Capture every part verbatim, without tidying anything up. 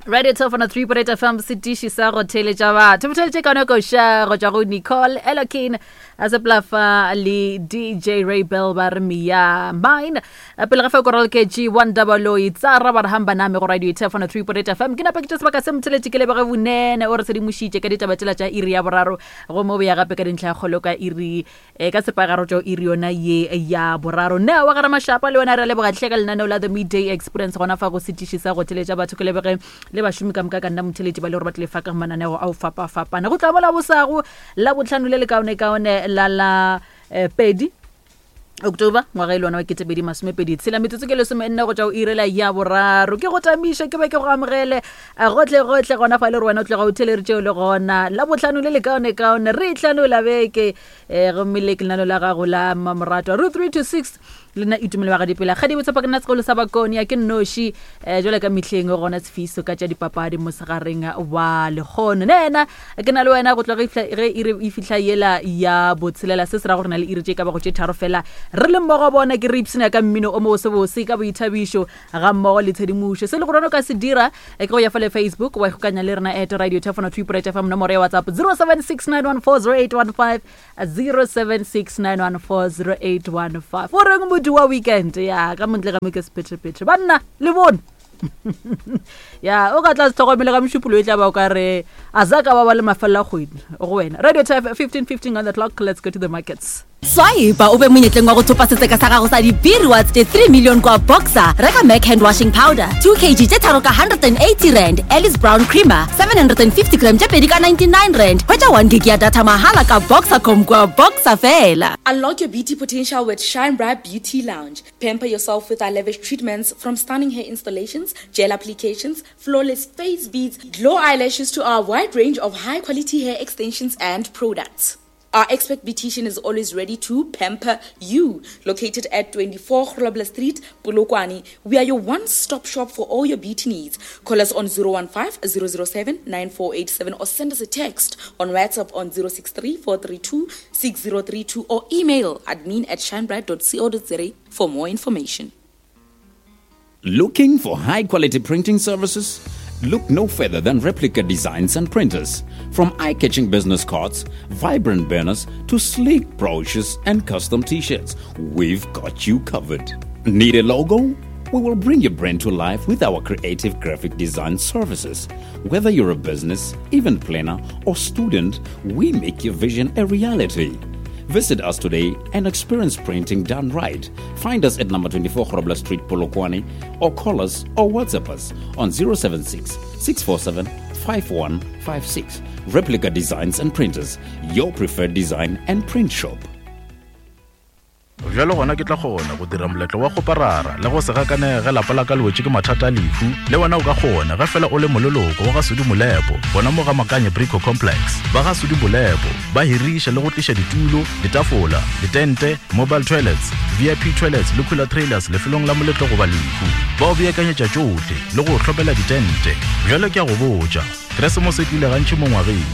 Radio Top one oh three point eight F M, setiši sa go theeletša batho. Botheletše ka nako ša go tšwa go Nicole Elokin a seplafa le D J Ray Bell ba re Mia Mine. Pele ga fa korol ke G one double O tsara ba re hamba name go Radio Top one oh three point eight F M. Ke napa ke tše sebaka se motheletše ke lebege bonene o re sedimošitše ka ditaba tšela tša iri ya boraro go mo boya gape ka dintlha kgolo ka iri e ka sepagaro tšo iri yona ye ya boraro. Ne wa gara mashapa le wena re leboga hle ka lenaneo la The Midday Experience gona fa go setiši sa go theletša batho ke lebege le bašomi ka moka ka nna motheletši ba le gore ba tlile fa ka mananeo ao fapa-fapana. Go tla bola bosago la botlhano le lekaone-kaone la la eh, pedi October ngwaga e le wona wa ketepedi masomepedi tshela metsotso ke lesome nne go tšwa go irela ya boraro. Ke go tamiše ke be ke go amogele gotle gotle gona fa le gore wena o tloga o theleditše o le gona la botlhano le lekaone-kaone re tlhano la beke eh, gomme le ke lenaneo la gago la mmamoratwa ro three to six le nna Itumelo wa Gadipela. Kgadi botshepa ke nna sekolo sa Bakone ya ke nnoši eh, jwale ka mehleng gona sefiso ka tša dipapadi mosegareng wa lekgono. Ne ena ke na le wena go tloga ge iri e fihla yela ya botshelela se se ra gore na le iri tše ka bago tše tharo fela re le mmogo bona ke re ipshina ka mmino o mobosebose ka boithabišo ga mmogo le tshedimošo. Se le gore o ka se dira ke go ya fa le Facebook wa ikgokanya le rena at Radio Top one oh three point eight F M, nomoro ya WhatsApp zero seven six nine one four zero eight one five, zero seven six nine one four zero eight one five. O reng motho wa weekend ya ka montle ga mo ke sephethephethe banna le bone ya o ka tla se tlhokomele ka mošupolo e tla ba o ka re a za ka ba ba le mafelo a kgwedi go wena. Radio Top fifteen fifteen on the clock. Let's go to the markets. Swipe o be monyetleng wa go thopa setseka sa gago sa di-B rewards tše three million kwa Boxer. Reka Mac hand washing powder two kilograms tše tharo ka hundred and eighty rand, Alice Brown creamer seven hundred and fifty gram tše pedi ka ninety-nine rand. Hwetša one gig ya data mahala ka Boxercom kwa Boxer fela. Unlock your beauty potential with Shine Bright Beauty Lounge. Pamper yourself with our lavish treatments, from stunning hair installations, gel applications, flawless face beads, glow eyelashes to our wide range of high-quality hair extensions and products. Our expert beautician is always ready to pamper you. Located at twenty-four Grobler Street, Polokwane, we are your one-stop shop for all your beauty needs. Call us on zero one five, zero zero seven, nine four eight seven or send us a text on WhatsApp on zero six three, four three two, six zero three two or email admin at shinebright dot co dot za for more information. Looking for high-quality printing services? Look no further than Replica Designs and Printers. From eye-catching business cards, vibrant banners, to sleek brochures and custom t-shirts, we've got you covered. Need a logo? We will bring your brand to life with our creative graphic design services. Whether you're a business, event planner, or student, we make your vision a reality. Visit us today and experience printing done right. Find us at number twenty-four Grobler Street, Polokwane, or call us or WhatsApp us on zero seven six, six four seven, five one five six. Replica Designs and Printers, your preferred design and print shop. Bjalo gona ke tla kgona go dira moletlo wa go parara le go se gakane ge lapa la ka le wetše ke mathata a lehu. Le wena o ka kgona ge fela o le moleloko wa ga Sudi Molepo, bona mo ga Makanye Brico Complex. Ba ga Sudi Molepo ba hiriša le go tliša ditulo, ditafola, ditente, mobile toilets, V I P toilets le cooler trailers lefelong la moletlo goba lehu. Ba o beakanyetša tšohle le go hlopela ditente. Bjalo ke a go botša, Keresemose e tlile gantši mo ngwageng.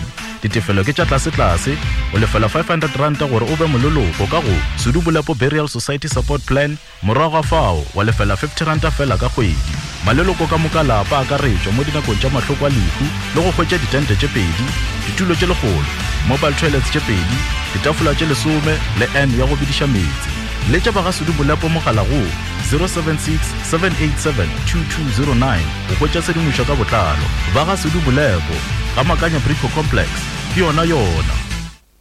Ditefelo ke tša tlase-tlase, o lefela five hundred rand gore o be moleloko ka go Sudi Molepo Burial Society Support Plan, morago ga fao wa lefela fifty rand fela ka kgwedi. Maleloko ka moka lapa a akaretšwa mo dinakong tša mahloko a lehu le go hwetša ditente tše pedi, ditulo tše lekgolo, mobile toilets tše pedi, ditafola tše lesome le N ya go bediša meetse. Letša ba ga Sudi Molepo mogala go zero seven six, seven eight seven, two two zero nine go hwetša tshedimošo ka botlalo. Ba ga Sudi Molepo, ga Makanya Brico Complex, ke yona yona.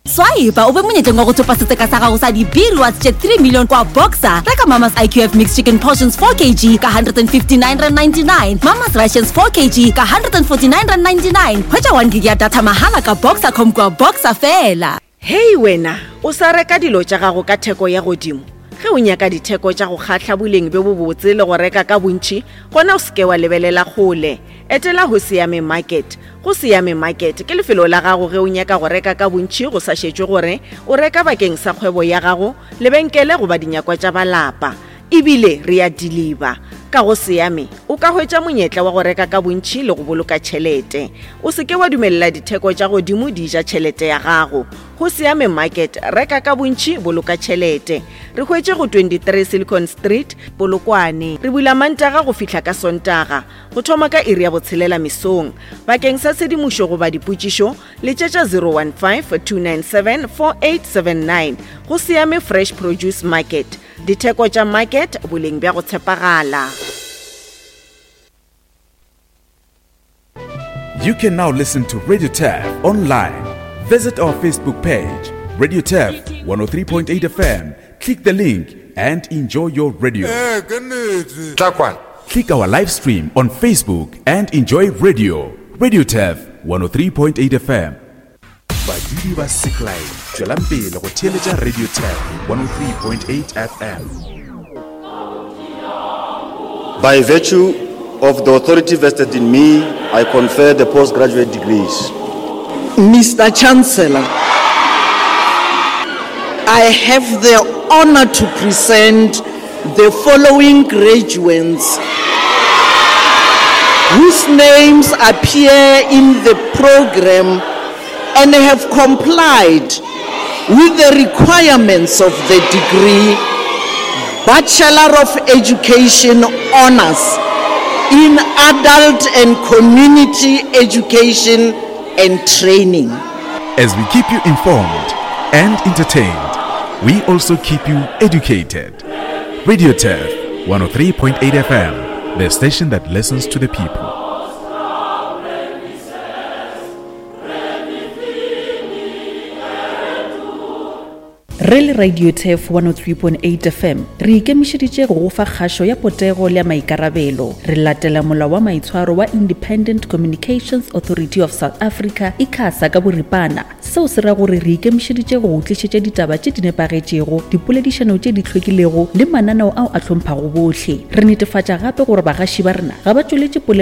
Swipe o be monyetleng wa go thopa setseka sa gago sa di-B rewards tše three million kwa Boxer. Reka Mama's I Q F mixed chicken portions four kilograms ka hundred and fifty-nine rand ninety-nine, Mama's Rations four kilograms ka hundred and forty-nine rand ninety-nine. Hwetša one gig ya data mahala ka Boxercom kwa Boxer fela. Hei wena, o sa reka dilo tša gago ka theko ya godimo. Ge o nyaka ditheko tša go kgahla boleng bjo bobotse le go reka ka bontši, gona o se ke wa lebelela kgole. Etela ho Siame Market. Go Siame Market ke lefelo la gago ge o nyaka go reka ka bontši go sa šetšwe gore o reka bakeng sa kgwebo ya gago, lebenkele goba dinyakwa tša ba lapa. Ebile re a deliver. Ka go Siame o ka hwetša monyetla wa go reka ka bontši le go boloka tšhelete. O se ke wa dumelela ditheko tša godimo di ja tšhelete ya gago. Go Siame Market, reka ka bontši, boloka tšhelete. Re hwetše go twenty-three Silicon Street, Polokwane. Re bula Mantaga go fihla ka Sontaga, go thoma ka iri ya botshelela mesong. Bakeng sa tshedimošo goba dipotšišo, letšetša zero one five, two nine seven, four eight seven nine. Go Siame Fresh Produce Market. Ditheko tša market, boleng bja go tshepagala. You can now listen to Radio Turf online. Visit our Facebook page, Radio Turf one oh three point eight F M. Click the link and enjoy your radio. Click our live stream on Facebook and enjoy radio. Radio Turf one oh three point eight F M. Badudi ba Seklai, tšwelang pele go theeletša Radio Turf one oh three point eight F M. By virtue of the authority vested in me, I confer the postgraduate degrees. Mister Chancellor, I have the honor to present the following graduates whose names appear in the program and have complied with the requirements of the degree Bachelor of Education Honors in Adult and Community Education and Training. As we keep you informed and entertained, we also keep you educated. Radio Turf one oh three point eight F M, the station that listens to the people. Re le Radio Turf one oh three point eight F M, re ikemišeditše go go fa kgašo ya potego le ya maikarabelo. Re latela molao wa maitshwaro wa Independent Communications Authority of South Africa, ICASA ka boripana. Seo se ra gore re ikemišeditše go go tlišetša ditaba tše di nepagetšego, dipoledišano tše di hlwekilego le mananeo ao a hlomphago bohle. Re netefatša gape gore bagaši ba rena ga ba tšweletše polelo